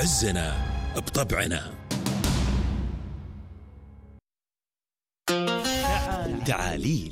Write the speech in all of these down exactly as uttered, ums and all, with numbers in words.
عزنا بطبعنا. تعاليل.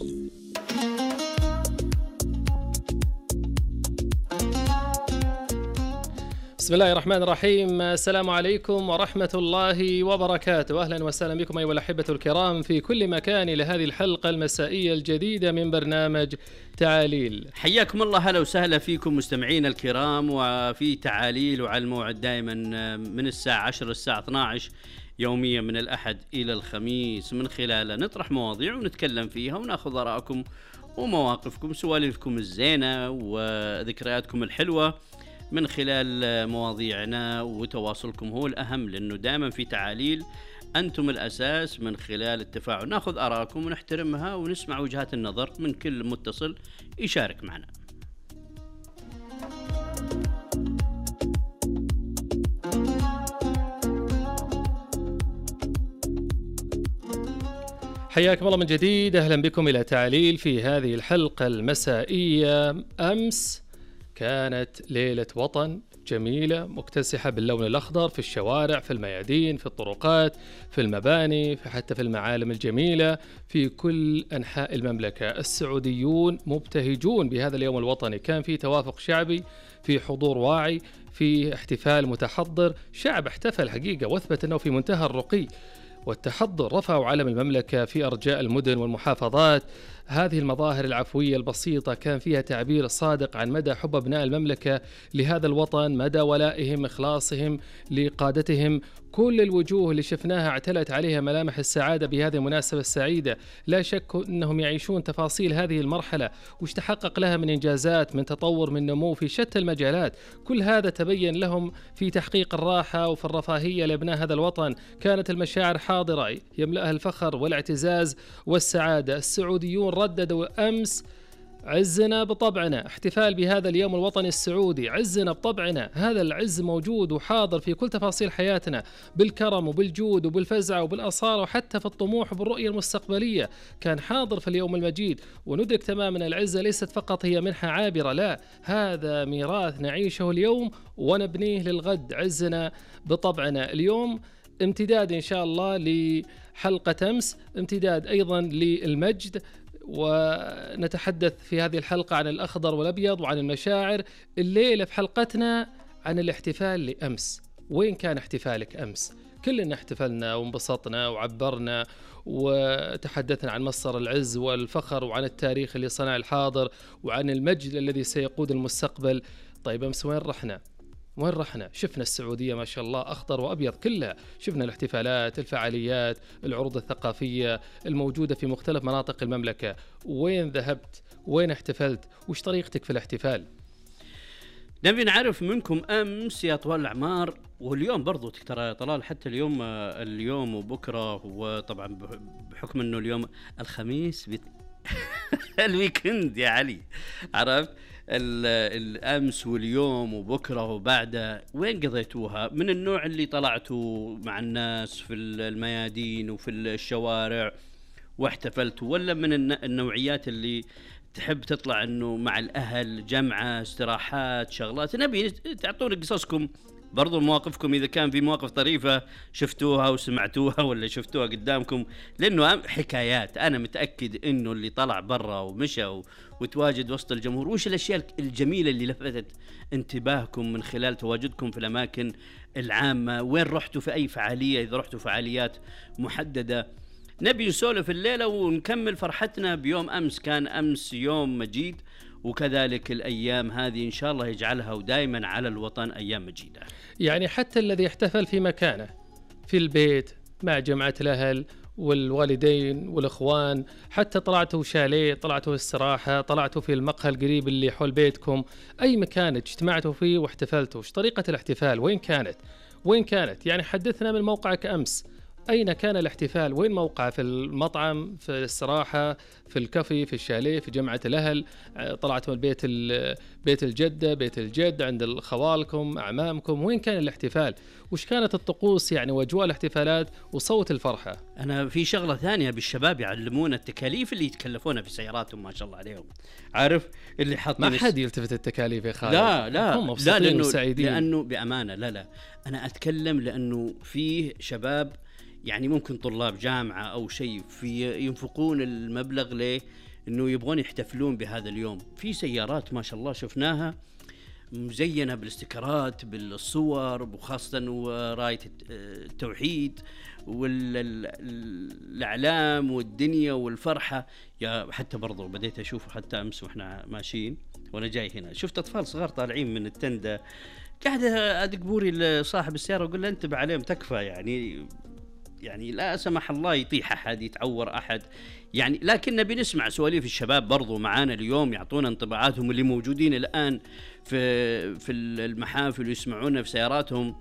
بسم الله الرحمن الرحيم. السلام عليكم ورحمة الله وبركاته. أهلا وسهلا بكم أيها الأحبة الكرام في كل مكان إلى هذه الحلقة المسائية الجديدة من برنامج تعاليل. حياكم الله، هلا وسهلا فيكم مستمعينا الكرام، وفي تعاليل وعلى الموعد دائما من الساعة عشرة للساعة اثنتي عشرة يوميا من الأحد إلى الخميس، من خلالها نطرح مواضيع ونتكلم فيها وناخذ آراءكم ومواقفكم، سوالفكم الزينة وذكرياتكم الحلوة من خلال مواضيعنا، وتواصلكم هو الأهم، لأنه دائما في تعاليل أنتم الأساس. من خلال التفاعل ناخذ آراءكم ونحترمها ونسمع وجهات النظر من كل متصل يشارك معنا. حياكم الله من جديد، أهلا بكم إلى تعاليل في هذه الحلقة المسائية. أمس كانت ليلة وطن جميلة مكتسحة باللون الأخضر في الشوارع، في الميادين، في الطرقات، في المباني، في حتى في المعالم الجميلة في كل أنحاء المملكة. السعوديون مبتهجون بهذا اليوم الوطني، كان في توافق شعبي، في حضور واعي، في احتفال متحضر. شعب احتفل حقيقة واثبت أنه في منتهى الرقي والتحضر. رفعوا علم المملكة في أرجاء المدن والمحافظات. هذه المظاهر العفوية البسيطة كان فيها تعبير صادق عن مدى حب أبناء المملكة لهذا الوطن، مدى ولائهم، إخلاصهم لقادتهم. كل الوجوه اللي شفناها اعتلت عليها ملامح السعادة بهذه المناسبة السعيدة. لا شك أنهم يعيشون تفاصيل هذه المرحلة وش تحقق لها من إنجازات، من تطور، من نمو في شتى المجالات. كل هذا تبين لهم في تحقيق الراحة وفي الرفاهية لأبناء هذا الوطن. كانت المشاعر حاضرة يملأها الفخر والاعتزاز والسعادة. السعوديون رددوا أمس عزنا بطبعنا، احتفال بهذا اليوم الوطني السعودي. عزنا بطبعنا، هذا العز موجود وحاضر في كل تفاصيل حياتنا، بالكرم وبالجود وبالفزع وبالأصالة وحتى في الطموح وبالرؤية المستقبلية. كان حاضر في اليوم المجيد، وندرك تماما العزة ليست فقط هي منحة عابرة، لا، هذا ميراث نعيشه اليوم ونبنيه للغد. عزنا بطبعنا اليوم امتداد إن شاء الله لحلقة أمس، امتداد أيضا للمجد، ونتحدث في هذه الحلقة عن الأخضر والأبيض وعن المشاعر. الليلة في حلقتنا عن الاحتفال لأمس. وين كان احتفالك أمس؟ كلنا احتفلنا وانبسطنا وعبرنا وتحدثنا عن مصدر العز والفخر وعن التاريخ اللي صنع الحاضر وعن المجد الذي سيقود المستقبل. طيب أمس وين رحنا؟ وين رحنا؟ شفنا السعودية ما شاء الله أخضر وأبيض كلها، شفنا الاحتفالات، الفعاليات، العروض الثقافية الموجودة في مختلف مناطق المملكة. وين ذهبت؟ وين احتفلت؟ وش طريقتك في الاحتفال؟ نبي نعرف منكم أمس يا طوال الأعمار، واليوم برضو ترى طلال، حتى اليوم اليوم وبكرة، وطبعا بحكم أنه اليوم الخميس بيت... الويكند يا علي، عرفت؟ الأمس واليوم وبكرة وبعده وين قضيتوها؟ من النوع اللي طلعتوا مع الناس في الميادين وفي الشوارع واحتفلتوا، ولا من النوعيات اللي تحب تطلع انه مع الأهل، جمعة، استراحات، شغلات؟ نبي تعطونا قصصكم برضو، مواقفكم، إذا كان في مواقف طريفة شفتوها وسمعتوها ولا شفتوها قدامكم، لأنه حكايات. أنا متأكد إنه اللي طلع برا ومشى وتواجد وسط الجمهور، وش الأشياء الجميلة اللي لفتت انتباهكم من خلال تواجدكم في الأماكن العامة؟ وين رحتوا في أي فعالية؟ إذا رحتوا فعاليات محددة. نبي نسولف الليلة ونكمل فرحتنا بيوم أمس. كان أمس يوم مجيد، وكذلك الأيام هذه إن شاء الله يجعلها ودائما على الوطن أيام مجيدة. يعني حتى الذي يحتفل في مكانه في البيت مع جماعة الأهل والوالدين والإخوان، حتى طلعتوا شاليه، طلعتوا استراحة، طلعتوا في المقهى القريب اللي حول بيتكم، أي مكان اجتمعتوا فيه واحتفلتوا، وش طريقة الاحتفال؟ وين كانت؟ وين كانت؟ يعني حدثنا من موقعك أمس. أين كان الاحتفال؟ وين موقعه؟ في المطعم، في الاستراحة، في الكافي، في الشاليه، في جمعة الأهل، طلعت من بيت بيت الجدة، بيت الجد، عند خوالكم، أعمامكم، وين كان الاحتفال؟ وش كانت الطقوس يعني وأجواء الاحتفالات وصوت الفرحة؟ أنا في شغلة ثانية بالشباب يعلمونا التكاليف اللي يتكلفونها في سياراتهم ما شاء الله عليهم، عارف اللي حاطين ما حد يلتفت التكاليف يا خالد. لا لا هم لا لأنه, وسعيدين. لأنه بأمانة لا لا أنا أتكلم لأنه فيه شباب يعني ممكن طلاب جامعة أو شيء في ينفقون المبلغ ليه إنه يبغون يحتفلون بهذا اليوم. في سيارات ما شاء الله شفناها مزينة بالاستيكرات بالصور، وخاصة وراية التوحيد والأعلام والدنيا والفرحة. يا حتى برضو بديت أشوف حتى أمس وإحنا ماشيين وأنا جاي هنا شفت أطفال صغار طالعين من التندة، قاعد أدق بوري لصاحب السيارة وأقول له انتبه عليهم تكفى، يعني يعني لا سمح الله يطيح أحد يتعور أحد يعني. لكن نبي نسمع سواليف الشباب برضو معانا اليوم يعطونا انطباعاتهم اللي موجودين الآن في في المحافل ويسمعونا في سياراتهم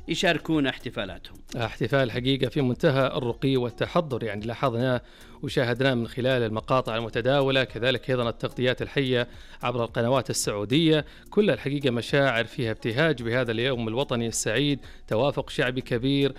يشاركون احتفالاتهم. احتفال حقيقة في منتهى الرقي والتحضر، يعني لاحظناه وشاهدناه من خلال المقاطع المتداولة، كذلك أيضا التغطيات الحية عبر القنوات السعودية. كل الحقيقة مشاعر فيها ابتهاج بهذا اليوم الوطني السعيد، توافق شعبي كبير،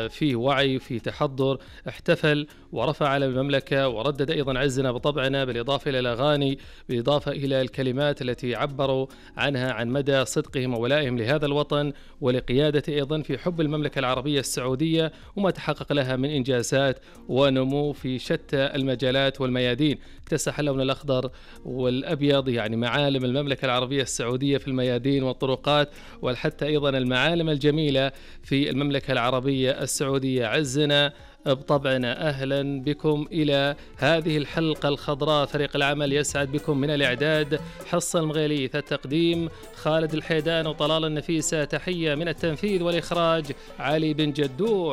فيه وعي، فيه تحضر، احتفل ورفع على المملكة وردد أيضا عزنا بطبعنا، بالإضافة إلى الأغاني، بالإضافة إلى الكلمات التي عبروا عنها عن مدى صدقهم وولائهم لهذا الوطن ولقيادته أيضا في حب المملكة العربية السعودية وما تحقق لها من إنجازات ونمو في شتى المجالات والميادين. اكتسح اللون الأخضر والأبيض يعني معالم المملكة العربية السعودية في الميادين والطرقات، وحتى أيضا المعالم الجميلة في المملكة العربية السعودية. عزنا بطبعنا، أهلا بكم إلى هذه الحلقة الخضراء. فريق العمل يسعد بكم من الإعداد حصة المغيليث، التقديم خالد الحيدان وطلال النفيسة، تحية من التنفيذ والإخراج علي بن جدوع.